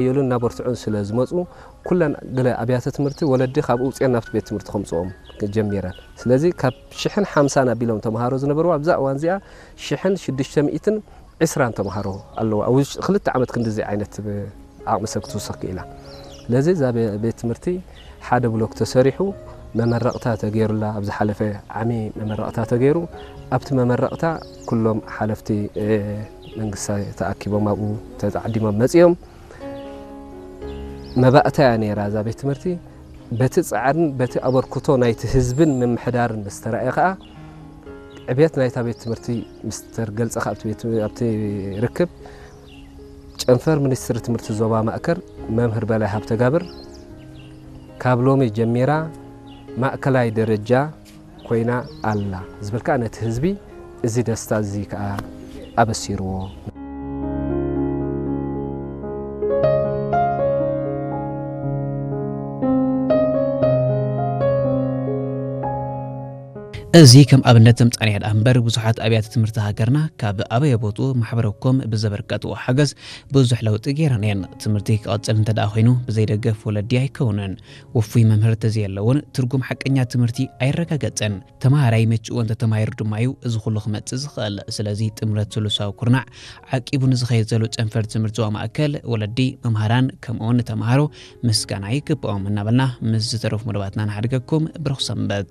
የሉን እናበርትዑን ስለ ዝመፁ፣ ኩለን ገለ ኣብያተ ትምህርቲ ወለዲ ካብ ውፅኤን ናብቲ ቤት ትምህርቲ ከምፅኦም ጀሚረን። ስለዚ ካብ ሽሕን ሓምሳን ኣቢሎም ተምሃሮ ዝነበርዋ ኣብዛ እዋን እዚኣ ሽሕን ሽዱሽተ ሚእትን ዕስራን ተምሃሮ ኣለዋ። ኣብ ውሽጢ ክልተ ዓመት ክንድዚ ዓይነት ዓቕሚ ሰብ ክትውስኽ ክኢላ። ስለዚ እዛ ቤ- ቤት ትምህርቲ ሓደ ብሎክ ተሰሪሑ መመረቕታ ተገይሩላ፣ ኣብ ዝሓለፈ ዓሚ መመረቕታ ተገይሩ፣ ኣብቲ መመረቕታ ኩሎም ሓለፍቲ መንግስቲ ተኣኪቦም ኣብኡ ተዓዲሞም መጺኦም። መባእታ እያ ነይራ እዛ ቤት ትምህርቲ። በቲ ጻዕርን በቲ ኣበርክቶ ናይቲ ህዝብን ምምሕዳርን ምስ ተራእየ ከኣ ዕብየት ናይታ ቤት ትምህርቲ ምስ ተገልጸ ከኣ ኣብቲ ቤት- ኣብቲ ርክብ ጨንፈር ሚኒስትሪ ትምህርቲ ዞባ ማእከል መምህር በላይ ሃብተጋብር ካብ ሎሚ ጀሚራ ማእከላይ ደረጃ ኮይና ኣላ ዝብል ከኣ ነቲ ህዝቢ እዚ ደስታ እዚ ከኣ ኣበሲርዎ። እዚ ከም ኣብነት ምጻንያ ደኣ እምበር ብዙሓት ኣብያተ ትምህርቲ ሃገርና ካብ ኣበየ ቦትኡ ማሕበረኮም ብዘበርከትዎ ሓገዝ ብዙሕ ለውጢ ገይረን እየን። ትምህርቲ ክቐጽል እንተ ደኣ ኮይኑ ብዘይ ደገፍ ወለዲ ኣይከውንን። ውፉይ መምህር ተዘየለውን ትርጉም ሓቀኛ ትምህርቲ ኣይረጋገጽን። ተማሃራይ መችኡ እንተ ተማሂሩ ድማ እዩ እዚ ኩሉ ክመጽእ ዝኽእል። ስለዚ ጥምረት ስሉሳዊ ኩርናዕ ዓቂቡ ንዝኸይድ ዘሎ ጨንፈር ትምህርቲ ዞባ ማእከል ወለዲ፣ መምሃራን ከምኡውን ንተማሃሮ ምስጋና ይግብኦም እናበልና ምስ ዝተረፉ መደባትና ንሓድገኩም። ብሩኽ ሰንበት።